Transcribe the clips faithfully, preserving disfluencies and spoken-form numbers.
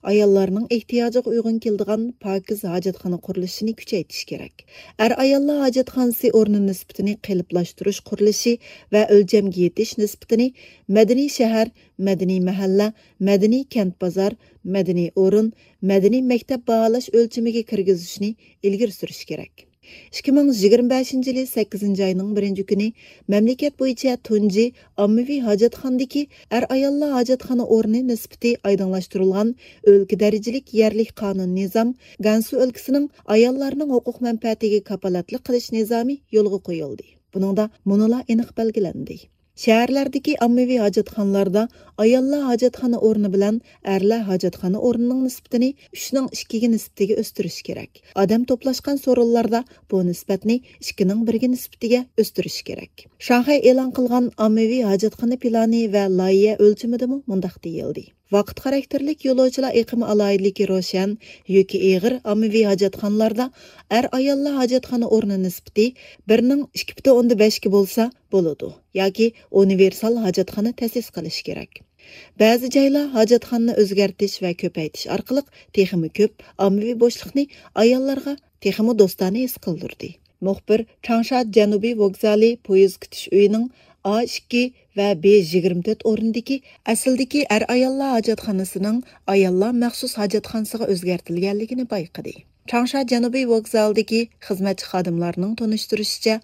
ئاياللارنىڭ ئېھتىياجىغا ئۇيغۇن كېلىدىغان پاكىز ھاجەتخانا قۇرۇلۇشىنى كۈچەيتىش كېرەك. ئەر-ئاياللار ھاجەتخانىسى ئورنى نىسبىتىنى قېلىپلاشتۇرۇش قۇرۇلۇشى ۋە ئۆلچەمگە يېتىش نىسبىتىنى مەدەنىي شەھەر، مەدەنىي مەھەللە، مەدەنىي كەنت بازار، مەدەنىي ئورۇن، مەدەنىي مەكتەپ باھالاش ئۆلچىمىگە كىرگۈزۈشنى ئىلگىرى سۈرۈش كېرەك. ئىككى مىڭ يىگىرمە بەشىنچى يىلى سەككىزىنچى ئاينىڭ بىرىنچى كۈنى مەملىكەت بويىچە تۇنجى ئاممىۋى ھاجەتخانىدىكى ئەر-ئاياللار ھاجەتخانا ئورنى نىسبىتى ئايدىڭلاشتۇرۇلغان ئۆلكە دەرىجىلىك يەرلىك قانۇن نىزام، گەنسۇ ئۆلكىسىنىڭ ئاياللارنىڭ ھوقۇق مەنپەئەتىگە كاپالەتلىك قىلىش نىزامى يولغا قويۇلدى. بۇنىڭدا مۇنۇلار ئېنىق بەلگىلەندى. شەھەرلەردىكى ئاممىۋى ھاجەتخانىلاردا ئاياللار ھاجەتخانا ئورنى بىلەن ئەرلەر ھاجەتخانا ئورنىنىڭ نىسبىتىنى ئۈچنىڭ ئىككىگە نىسبىتىگە ئۆستۈرۈش كېرەك. ئادەم توپلاشقان سورۇنلاردا بۇ نىسبەتنى ئىككىنىڭ بىرىگە نىسبىتىگە ئۆستۈرۈش كېرەك. شاڭخەي ئېلان قىلغان ئاممىۋى ھاجەتخانا پىلانى ۋە لايىھە ئۆلچىمىدىمۇ مۇنداق دېيىلدى: ۋاقىت خاراكتېرلىك يولۇچىلار ئېقىمى ئالاھىدىلىكى روشەن، يۈكى ئېغىر ئاممىۋى ھاجەتخانىلاردا ئەر-ئاياللار ھاجەتخانا ئورنى نىسبىتى بىرنىڭ ئىككى پۈتۈن ئوندىن بەشكە بولسا بولىدۇ ياكى ئۇنىۋېرسال ھاجەتخانا تەسىس قىلىش كېرەك. بەزى جايلار ھاجەتخانىنى ئۆزگەرتىش ۋە كۆپەيتىش ئارقىلىق تېخىمۇ كۆپ ئاممىۋى بوشلۇقنى ئاياللارغا تېخىمۇ دوستانە ھېس قىلدۇردى. مۇخبىر چاڭشا جەنۇبىي ۋوگزالى پويىز كۈتۈش ئۆيىنىڭ ئا ئىككى ۋە بې يىگىرمە تۆت ئورنىدىكى ئەسلىدىكى ئەر-ئاياللار ھاجەتخانىسىنىڭ ئاياللار مەخسۇس ھاجەتخانىسىغا ئۆزگەرتىلگەنلىكىنى بايقىدى. چاڭشا جەنۇبىي ۋوگزالىدىكى خىزمەتچى خادىملارنىڭ تونۇشتۇرۇشىچە،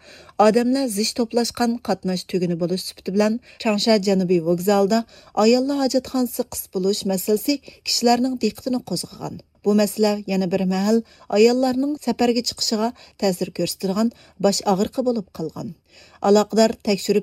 ئادەملەر زىچ توپلاشقان قاتناش تۈگۈنى بولۇش سۈپىتى بىلەن چاڭشا جەنۇبىي ۋوگزالىدا ئاياللار ھاجەتخانىسى قىس بولۇش مەسىلىسى كىشىلەرنىڭ دىققىتىنى قوزغىغان. بۇ مەسىلە يەنە بىر مەھەل ئاياللارنىڭ سەپەرگە چىقىشىغا تەسىر كۆرسىتىدىغان باش ئاغرىقى بولۇپ قالغان. ئالاقىدار تەكشۈرۈپ